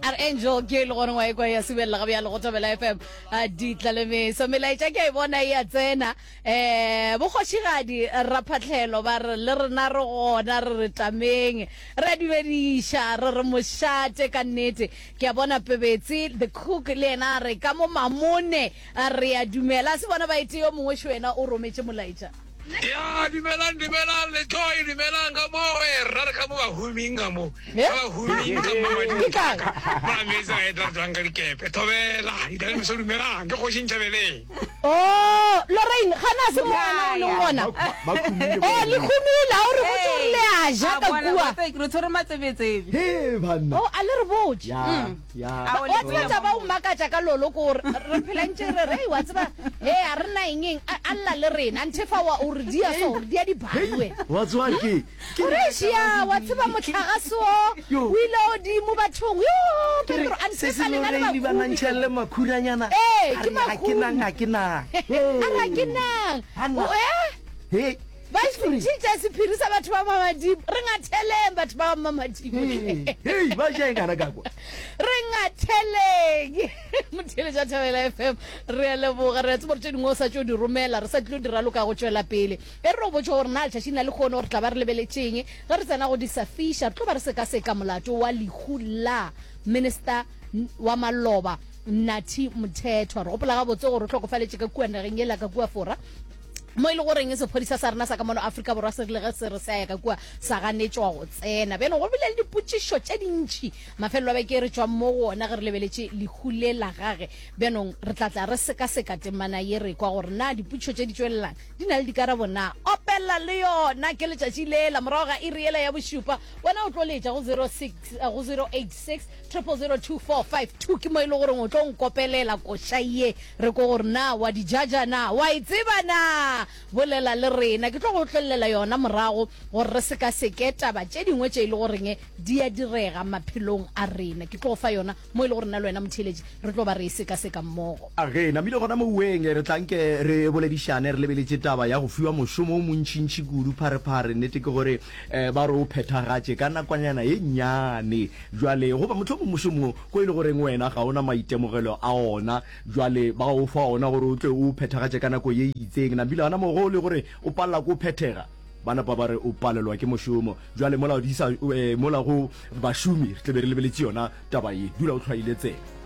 A re Angel ke e le gore wa ekwa ya subelela ga bjalo go Thobela FM. A ditla le meso. Melaetša ke a e bona e a tsena. Eh bokgošigadi Raphatlhelo ba re le rena re gona re re tameng. Re a dumediša re re mošate ka nnete. Ke a bona Pebetse the cook le yena a re ka mo Mamone re a dumela. A se bona ba ete yo mongwe šo yena o rometše molaetša. Ya, dumelang, dumelang, Letoi, dumelang ka mo, e rra re ka mo bahuming ka mo, ka bahuming ka mo Ke kang? Mola meetse a etla re tswang ka dikepe, thobela, ditalemeso dumelang, ke kgoši Ntšhabeleng. Oh, Lorraine, gana a se mo wena o leng gona. Ba khumile Oh, le khumile, a o re botse gore le a ja ka kua. Re tshwere matsebetsebe. He banna. Oh, a le re botse. Ya, ya. A o Wa tseba taba o mmakatša ka lolo ko gore re phela ntše re re wa tseba he a re na eng eng a a lla le rena nthe fa wa o re dia so o re dia dibari wena. Wa tseba ke ke re ešia wa tseba mohlagase o o ile odimo bathong yo Ke re Petro a se nthe se fa lena le Lorraine ba bahumi nantšhelle makhuranyana. Ee, A ke re ga ke nang bahumi. ga ke nang. a re ga ke nang Hanna. O- eh? He. Ba ntšhitše sephiri sa batho ba Mamadimo. Re ngatheleng batho ba Mamadimo. Hei, ba ja eng gana ka kwa? Re ngatheleng. Motheeletša Thobela FM, re a leboga. Re a tseba gore tše dingwe o sa tšo di romela, re sa tlilo di raloka go tšwela pele. E re re go botše gore na letšatšing la lehono re tla ba re lebeletšeng ge re tsena go di sa fiša. Re tlo ba re sekaseka molato wa lehu la Minister wa maloba Nathi Mthethwa. Re gopola gabotse gore o hlokofaletše ka kua nageng yela ka kua Fora. Mo e le goreng sephodisa sa rena sa ka mono Afrika Borwa se rile ge se re se a ya ka kua sa ganetšwa go tsena. Bjano go bile le dipotšišo tše dintši mafelelo a beke re tšwang mo go ona ge re lebeletše lehu le la gage. Bjanong re tla tla re sekaseka temana ye re kwa gore na dipotšišo tše di tšwelelang di na le dikarabo na. Opela le yona ke letšatši lela morago ga iri yela ya bošupa wena o tlo letša go 06 go 086 000 2452 ke mo e le goreng o tlo nkopelela koša ye Re ko gore na wa di jaja na? Wa e tseba na? Bolela le rena. Ke tlo go otlolela yona morago gore re sekaseke taba tše dingwe tše e le goreng di a direga maphelong a rena. Ke tlo go fa yona mo e le gore nna le wena motheeletši re tlo ba re e sekaseka mmogo. A Re namile gona moweng, re tla nke re boledišane re lebeletše taba ya go fiwa mošomo o montšintši kudu pharephare. Nnete ke gore ba re o phethagatše ka nakwanyana ye nnyane. Bjale, goba mohlomong mošomo ko e le goreng wena ga o na maitemogelo a ona, bjale ba o fa ona gore o tle o o phethagatše ka nako ye e itseng. Nambile gona moo ge o le gore o palela ke o phethega, ba napa ba re o palelwa ke mošomo. Bjale mola di sa, mola go bašomi re tle be re lebeletše yona taba ye. Dula o hlwaile tsebe.